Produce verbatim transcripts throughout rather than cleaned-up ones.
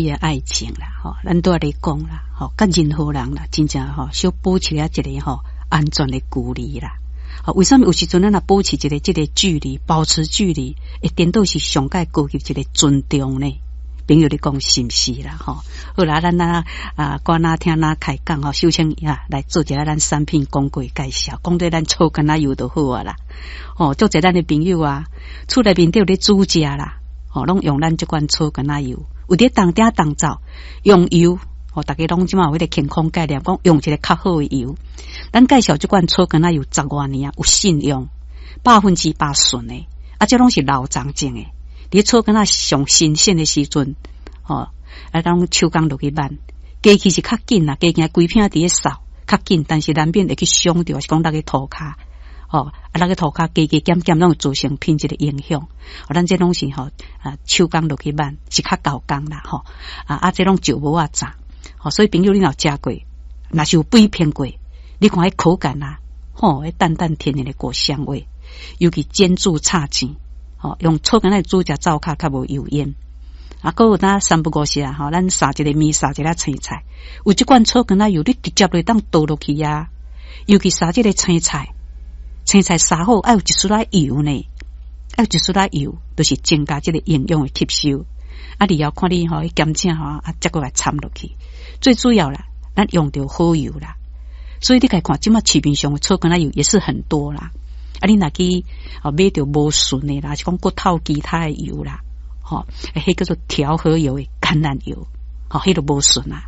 開的愛情啦，吼，咱都咧講啦，吼，佮任何人啦，真正吼，小保持一個吼安全的距離啦。吼，為啥物有時陣咱若保持一個這個距離，保持距離，會顛倒是上蓋高級一個尊重呢？朋友，你講是毋是啦？吼，好啦，咱啊啊，歌若聽若開講吼，首先啊來做一下咱產品廣告介紹，講對咱草柑仔油就好啊啦。吼，足濟咱的朋友啊，厝內面底有咧煮食啦，吼，攏用咱這款草柑仔油，有佇當鼎當灶用油，吼，逐家攏這馬有彼個健康概念，講用一個較好的油。咱介紹這款草柑仔油十外年啊，有信用，百分之百純的，啊，這攏是老欉種的。佇草柑仔上新鮮的時陣，吼，啊，攏手工落去挽，機器是較緊啦，加件規片佇咧掃較緊，但是難免會去傷著，是講落去塗跤，吼，啊，落去塗跤，加加減減攏會造成品質的影響。咱這攏是吼啊，手工落去挽是較厚工啦，吼，啊啊，這攏石磨仔鍘，吼，所以朋友你若有食過，若是有比拼過，你看彼口感啊，吼，彼淡淡甜甜的果香味，尤其煎煮炒煎。吼，用草柑仔煮食灶跤較無油煙。啊，閣有當三不五時啊，吼，咱撒一個麵，撒一個青菜，有這罐草柑仔油，你直接就當倒落去啊。尤其撒這個青菜，青菜撒好愛有一絲仔油呢，愛有一絲仔油，就是增加這個營養的吸收。啊，你要看你吼，鹹醬吼，啊，才閣來摻落去。最主要啦，咱用著好油啦。所以你共看，這馬市面上的草柑仔油也是很多啦。啊，你若去哦買著無純的啦，是講閣透其他的油啦，吼，彼叫做調和油的橄欖油，吼，彼都無純啊。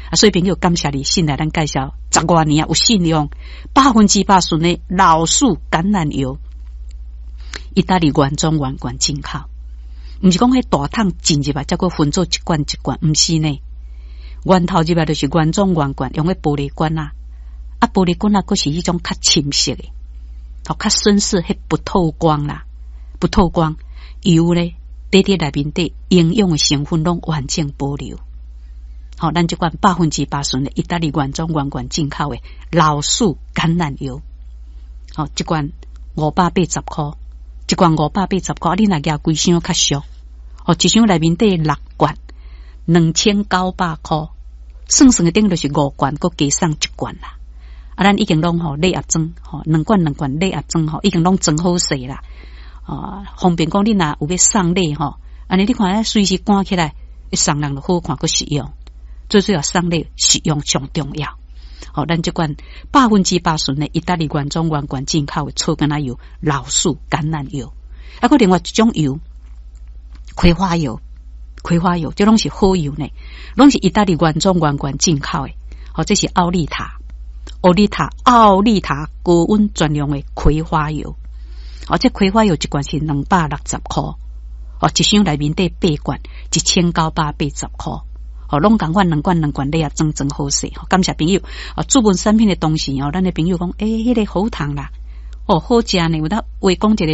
啊，所以朋友感謝你信賴咱介紹十外年啊，有信用，百分之百純的老樹橄欖油，意大利原裝原罐進口，毋是講彼大桶進入來，才閣分做一罐一罐，毋是呢。源頭入來就是原裝原罐，用彼玻璃罐啊，啊玻璃罐啊，閣是彼種較深色的。吼，較深色，彼不透光啦，不透光油咧，佇佇內面底營養的成分攏完整保留。吼，咱這款百分之百純的意大利原裝原罐進口的老樹橄欖油，吼，這罐五百八十箍，一罐五百八十箍，你若舉幾箱較俗，吼，一箱內面底六罐，兩千九百箍，算算的等於就是五罐，閣加送一罐啦。啊，咱已經攏吼禮盒裝，吼兩罐兩罐禮盒裝吼，已經攏裝好勢啦。啊，方便講你若有欲送禮吼，按呢你看隨時關起來，送人就好看，閣實用。最主要送禮實用上重要。吼，咱這罐百分之百純的意大利原裝原罐進口的草柑仔油、老樹橄欖油，啊，閣另外一種油，葵花油，葵花油，這攏是好油呢，攏是意大利原裝原罐進口的。吼，這是奧利塔。奧利塔，奧利塔高溫專用的葵花油，哦，這葵花油一罐是兩百六十箍，哦，一箱內面底八罐，一千九百八十箍，哦，攏仝款兩罐兩罐禮盒裝裝好勢，感謝朋友，哦，注文產品的同時哦，咱的朋友講，欸，彼個喉糖啦，哦，好食呢，有當話講一個。